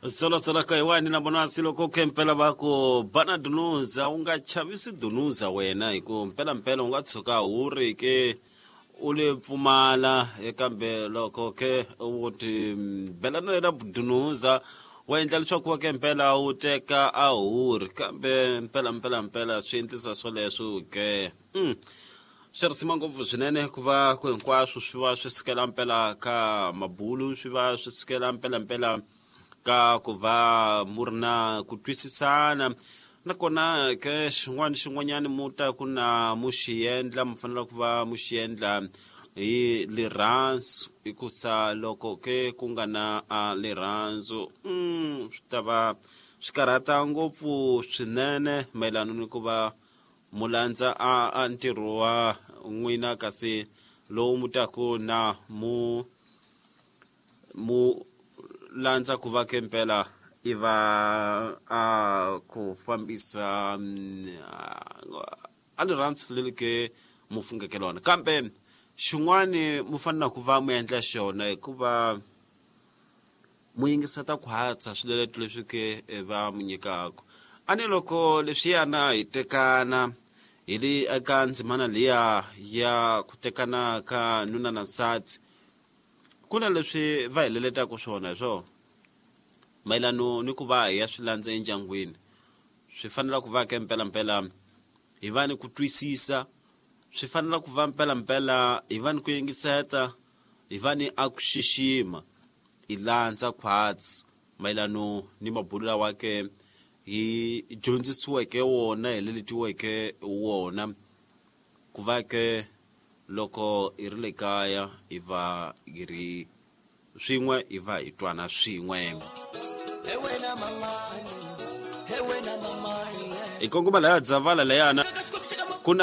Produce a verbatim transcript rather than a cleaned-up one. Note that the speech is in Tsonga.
Solo ka yiwani na vona siloko ke mpela va ku bana dunuza u nga chavisi dunuza wena hi ku mpela mpela u nga tshuka u ri ke u le pfumala kambe loko ke u ti belana na dunuza wa endla leswaku wa ke mpela u teka a huri kambe mpela mpela mpela swi endlisa swoleswo ke mm. Swi risima ngopfu swinene ku va ku hinkwaswo swi va swi sukela mpela ka mabulu swi va swi sukela mpela mpela ka ku va mu ri na ku twisisana nakona ke xin'wana xin'wanyana mu ta ku na mu xi endla mu fanele ku va mu xi endla hi lirhandzu hikusa loko ke ku nga na a lirhandzu mm, swi ta va swi karhata ngopfu swinene mayelana ni ku va mu landza a, a ntirho wa n'wina kasi lowu mu taku na mu mu landza ku va ke mpela i va a ku fambisa a lirhandzu leri ke mu fungeke lona kambe xin'wani mu fanele ku va mu endla xona hikuva mu yingiseta ku hatsa swileto leswi ke va mu nyikaka a ni loko leswiyana hi tekana hi le eka ndzimana liya ya ku tekana ka nuna na nsati ku na leswi va hi leletaka swona hi swona mayelano ni ku va hi ya swi landza endyangwini swi fanele ku va ke mpelampela hi va ni ku twisisa swi fanele ku va mpelampela hi va ni ku yingiseta hi va ni a ku xixima hi landza khwatsi mayelano ni mabulo lawa ke hi dyondzisiweke wona hi leletiweke wona ku va ke loko hi ri le kaya hi va hi ri swin'we hi va hi twana swin'we hi kongoma laya dzavala layana ku na